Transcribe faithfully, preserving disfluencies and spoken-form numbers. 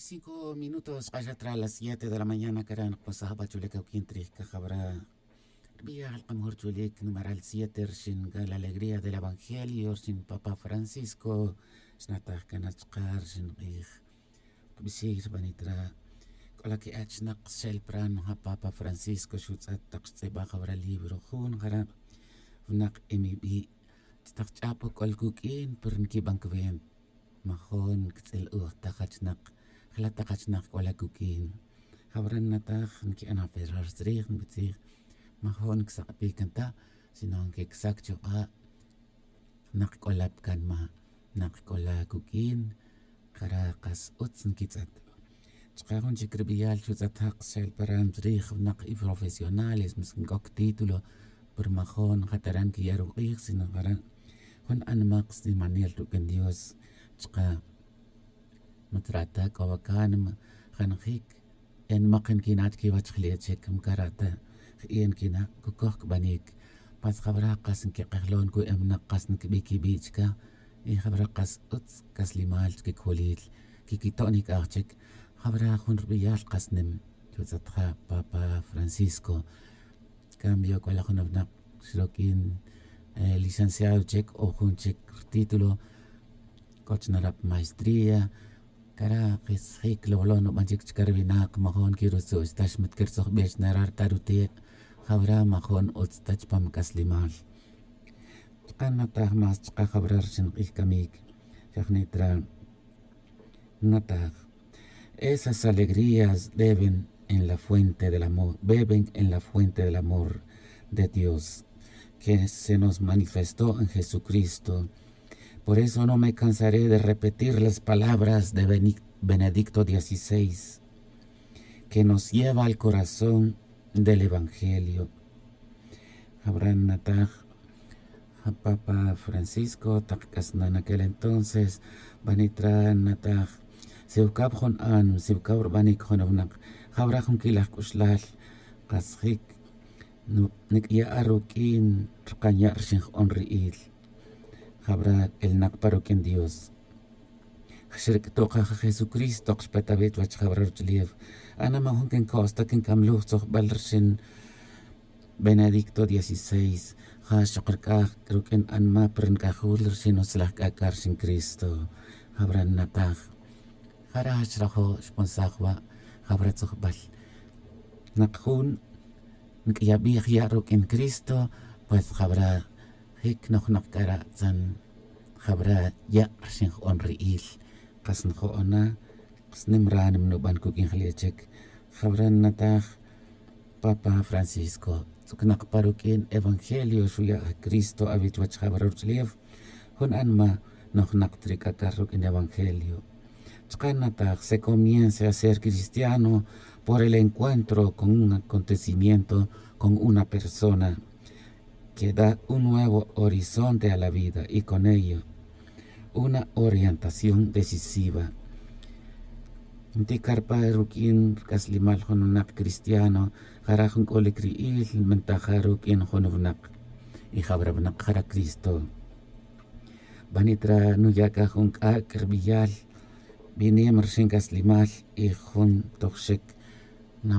Cinco minutos k'axat ra las siete de la mañana cara' nokpasaj ba chulic awuquin trij cajawra. Rbiyal kamajur chulic numeral siete rxin ca la alegría del evangelio rxin papa francisco. Xnataj cana chka rxin k'ij kbixij rbanit ra c'o la que'et xnak xel pran ja papa francisco xutz'et tak xtz'ibaj jawra libro jun jara' wnak emibi'. Tz'etak ch'ab o c'ol cuq'uin pero nquiban cwent. Majon ctz'il uj ta jachnak jala' ta jachnak c'o la cuq'uin. Jawra nnataj nqui'an aferrar tzrij nbitzij majon nsak'pi can ta sino nquicsac chuk'a'. Nak c'o la pa canma nak c'o la cuq'uin. Jara' kas utz nquitz'et. Chka jun chic rbiyal xutz'et jak xel paran tzrij wnak y profesionales mas nc'oc título pero majon ja tara' nquiya' ruk'ij sino jara' jun anmak snimanel ruq'uin dios. Chka matzra' ta c'o wa cánima janajic. Enmak nquina' chiquiwech jle' chic mcara' ta je'e' nquina' cucoj cbanic. Pas jawra' kas nquik'ejlon cu'emnak kas nquibi' quibi' chca. Y jawra' kas utz c'aslimal chiquic'ulil quiquito'nic aj chic. Jawra' jun rbiyal kas nim xutz'et ja papa francisco. Cambio c'o la jun wnak xroq'uin licenciado chic o jun chic rtítulo. C'o chna ra pa maestría cara' kisjic lowlo' nuban chic chca ri winak majon quirutzu'x ta xmat quirtzojbe chna ra ri ta rute'. Jawra' majon utz ta chupam c'aslimal. Chka' nataj más chka' jawra' rixin k'ij camic. Xa jnit ra' nataj. Esas alegrías deben en la fuente del amor beben en la fuente del amor de dios, que se nos manifestó en jesucristo. Por eso no me cansaré de repetir las palabras de benedicto dieciséis, que nos lleva al corazón del evangelio. Jawra' nataj ja papa francisco tak c'asnan aquel entonces. Banit ra' nataj siwcaw jun anma siwcaw rbanic jun wnak. Jawra' jun quilaj c'uxlal kasjic nic'ya' ruq'uin rkanya' rxin jk'on ri'il. Jawra' elnak pa ruq'uin dios. Xric'tuj aj jesucristo xpet awi' chuwech jawra' ruch'ulef. Ana ma' jun quinco's ta quincamluj tzojbal rxin benedicto dieciséis. Ja xok rc'aj ruq'uin anma pa rinc'ajul rxin utzlaj c'ac'a' rxin cristo. Jawra' nataj. Jara' xrajo' xponsaj wa' jawra' tzojbal. Nak jun nc'iyabij ya' ruq'uin cristo. Pues jawra' jic nojnak c'ara' tzan jawra' ya' rxin jk'on ri'il. Kas njo'ona snim ránima nuban cuq'uin jle' chic. Jawra' nataj papa francisco tz'ucnak pa ruq'uin evangelio xuya' cristo awi' chuwech jawra' ruch'ulef. Jun anma nojnak ta ri c'ac'al ruq'uin evangelio. Chka' nataj se comience a ser cristiano por el encuentro con un acontecimiento con una persona que da un nuevo horizonte a la vida y con ello una orientación decisiva. Nti' carpa ruq'uin rc'aslimal jun wnak cristiano jara' jun c'olic ri'il nbentaja ruq'uin jun wnak. Y jawra' wnak jara' cristo. Banit ra' nuya' c'a jun c'ac' rbiyal binem rxin c'aslimal y jun tojxic